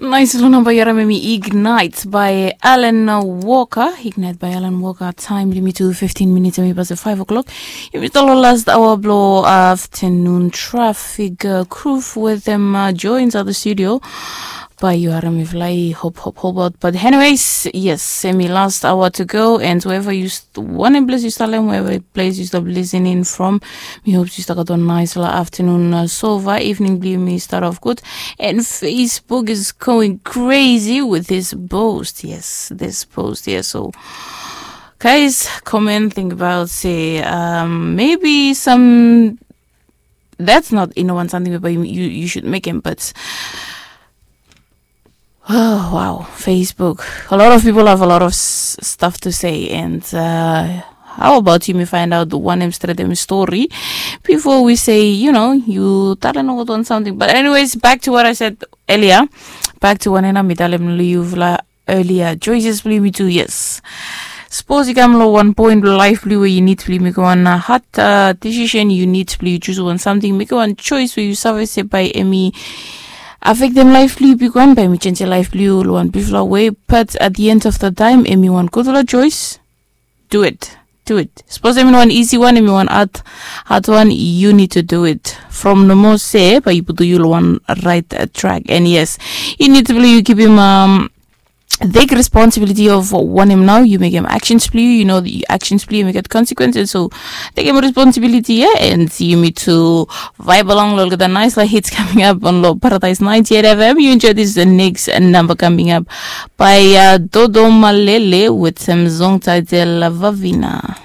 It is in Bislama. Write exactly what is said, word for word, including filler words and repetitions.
Nais long namba yu harim em i Ignite by Alan Walker. Ignite by Alan Walker. Taem blong yumi tu fiftin minits em i pasa five o'clock. Yumi stap long last aoa blong afternoon traffic. Groove wetem Joe inside the studio. Bae yu harim mifala i hop hop hop aot. But anyways, yes, em i last aoa to go. And wherever yu wanem ples yu stap long, wherever ples yu stap listening from, mi hop yu stap gat wan nais long afternoon so far. Evening blong yumi start off good. And Facebook is going crazy with this post. Yes, this post here. So guys, comment, think about say, um, maybe some that's not, you know, one something about you, you, you should make him, but oh, wow, Facebook. A lot of people have a lot of s- stuff to say, and uh, how about you? Me find out one em straight em story before we say, you know, you talent out on something. But anyways, back to what I said earlier. Back to one ena mi talem long yufala earlier. Choices blong yumi tu, yes. Sapos i kam long wan point blong laef blong yu we yu nid blong yu mekem wan hard decision, yu nid blong yu chus wan samting, mekem wan choice we yu save se bae em i afektem laef blong yu bigwan, bae em i jenjem laef blong yu long wan bigfala wei. But at the end of the time, em i wan gudfala choice. Do it. Do it. Sapos em i no wan isi wan, em i wan hard, hard wan, you need to do it. From nomo se bae yu putum yu long wan right track. And yes, yu nid blong yu kipim um, take responsibility of wanem nao yu mekem actions blong yu. You know the actions blong yu mekem consequences. So takem responsibility, yeah, and yumi tu vibe along long olgeta nais la hits coming up on lo Paradise ninety-eight F M. You enjoy this the next number coming up by uh, Dodo Malele with some song title Vavina.